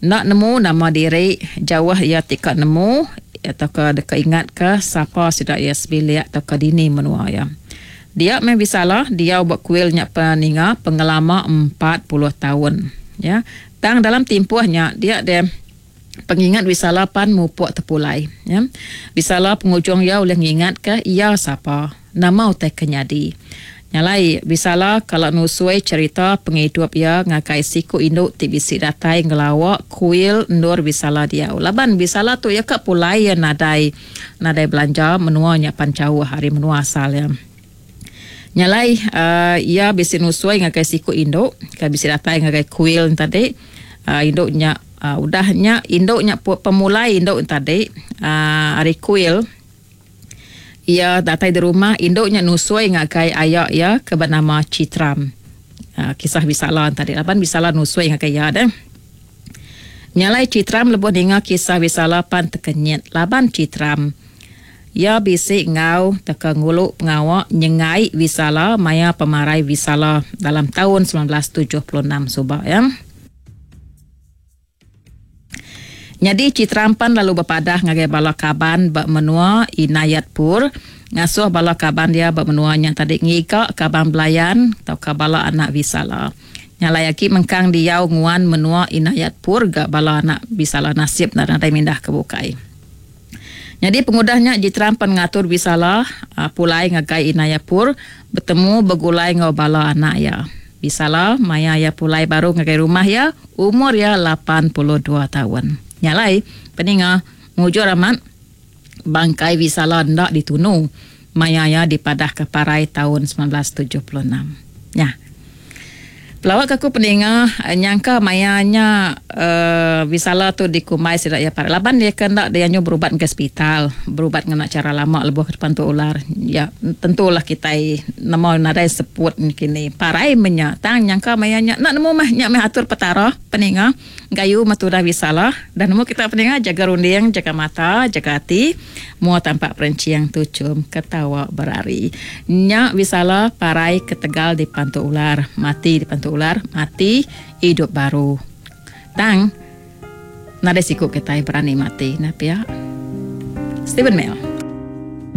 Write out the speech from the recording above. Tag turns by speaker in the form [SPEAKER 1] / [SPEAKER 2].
[SPEAKER 1] Enda nemu nama diri jauh iya ti ka nemu tauka deka ingatka sapa sida iya sebilik tauka dini menua iya. Dia meh Visala diau ba kuil nya peninga pengelama 40 taun. Ya. Tang dalam timpuh nya dia deh pengingat Visala pan mupuk tepulai. Ya. Visala pengujung iya ulih ngingatka iya sapa. Nama utai ke nyadi? Nya alai, Visala kala nusui cherita pengidup iya ngagai siku indu ti bisi datai ngelawa kuil endur Visala diau. Laban Visala tu iya ka pulai iya nadai nadai belanja menua nya pan jauh ari menua asal iya. Nya alai, iya bisi nusui ngagai siku indu ke bisi datai ngagai kuil nya tadi. Indu nya udah nya indu nya pemulai indu nya tadi ari kuil. Iya datai di rumah, indu nya nusui ngagai aya iya ke benama Chitram. Kisah Visala tadi laban Visala nusui ngagai iya deh. Nya alai Chitram lebuh ninga kisah Visala pan tekenyit laban Chitram. Iya bisi enggau teka ngulu pengawa nyengai Visala maya pemarai Visala dalam taun 1976 suba iya. Nyadi Chitram pan lalu bepadah ngagai bala kaban ba menua Inayatpur ngasuh bala kaban iya ba menua nya tadi ngiga kaban belayan tauka bala anak Visala. Nya alai agi mengkang diau nguan menua Inayatpur ga bala anak Visala nasib enda nadai mindah ke bukai. Nyadi pengudah nya Jitram pan ngatur Visala pulai ngagai Inayapur betemu begulai enggau bala anak iya. Visala maya iya pulai baru ngagai rumah iya umur iya 82 taun. Nya alai, peninga mujur amat bangkai Visala enda ditunu maya iya dipadahka parai taun 1976. Nya. Pelawa ke aku peninga nyangka maya nya uhh Visala tu dikumbai sida iya parai laban iya ke enda dianjung berubat ngagai sepital berubat ngena chara lama lebuh ke depan tu ular ya tentulah kitai nemu nadai seput kini parai meh nya tang nyangka maya nya enda nemu meh nya meh atur petara peninga. Gayu meh tudah Visala dah nemu kita peninga jaga runding jaga mata jaga ati. Mua tampak perenching tuchum ketawa berari. Nya Visala parai ketegal dipantu ular. Mati dipantu ular, mati idup baru. Tang nadai siku kitai berani mati nah pia. Steven Mel.